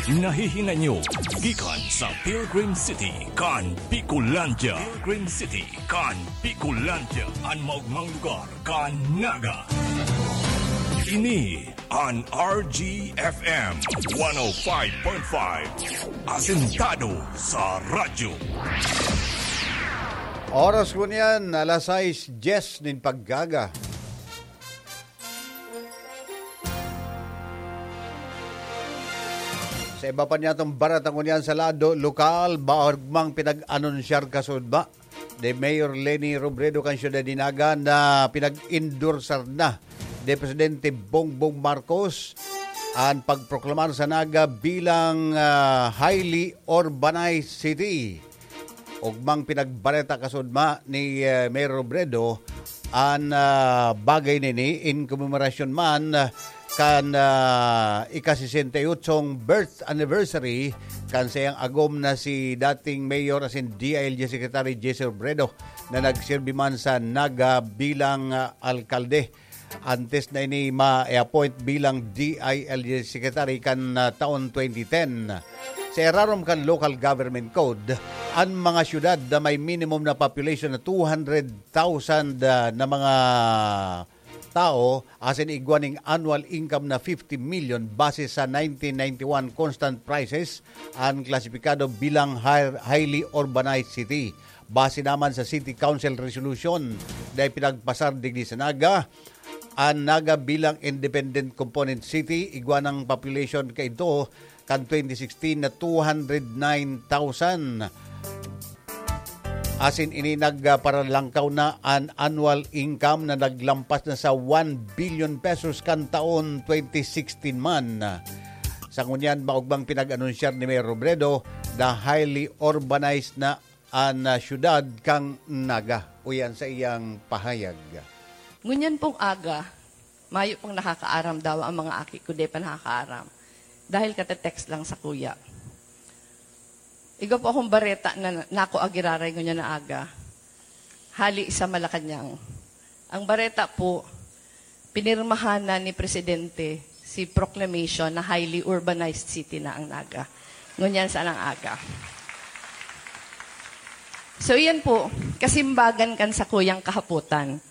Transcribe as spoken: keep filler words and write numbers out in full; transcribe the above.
Nahihinanyo gikan sa Pilgrim City kan Bicolandia. Pilgrim City kan Bicolandia, an maogmang lugar kan Naga. Ini an R G F M one oh five point five, asentado sa radyo. Oras ko niyan, alas sais dyes nin pag-aga. Sa iba pa niyatong bareta ngunyan sa lado lokal, maogmang pinag-anunsyar kasuodma ni Mayor Leni Robredo kan Syudad nin Naga na pinag-endorsar na ni Presidente Bongbong Marcos an pagproklamar sa Naga bilang, ah, highly urbanized city. Ogmang pinagbareta kasuodma ni, eh, Mayor Robredo an, ah, bagay nini in commemoration man, ah, kan, ah, ika-sesenta y otsong birth anniversary kan sayang agom na si dating Mayor asin D I L G Secretary J C Robredo na nagserbi man sa Naga bilang, ah, alkalde. Antes na ini ma-appoint bilang D I L G Secretary kan, ah, taon twenty ten. Sa irarom kan Local Government Code, an mga syudad na may minimum na population na two hundred thousand, ah, na mga tao, asin igwa ning annual income na fifty million base sa nineteen ninety-one constant prices, an klasipikado bilang high-, highly urbanized city. Base naman sa City Council Resolution na ipinagpasar digdi sa Naga, an Naga bilang independent component city, igwa nang population kaidto kan twenty sixteen na two hundred nine thousand. Asin ini nagparalangkaw na an annual income na naglampas na sa one billion pesos kan taon twenty sixteen man. Sa ngunyan, maogmang pinag-anunsyar ni Mayor Robredo na highly urbanized na an, ah, syudad kan Naga. Uyan sa iyang pahayag. Ngunyan pong aga, mayo pang nakakaaram daw ang mga aki ko, di pa nakakaaram. Dahil kate-text lang sa kuya. Igwa po akong bareta na nako agiraray ngunyan na aga. Hali sa Malacañang. Ang bareta po, pinirmahan na ni Presidente si proclamation na highly urbanized city na ang Naga. Ngunyan sa nang aga. So, iyan po, kasimbagan kan sakuyang kahapotan.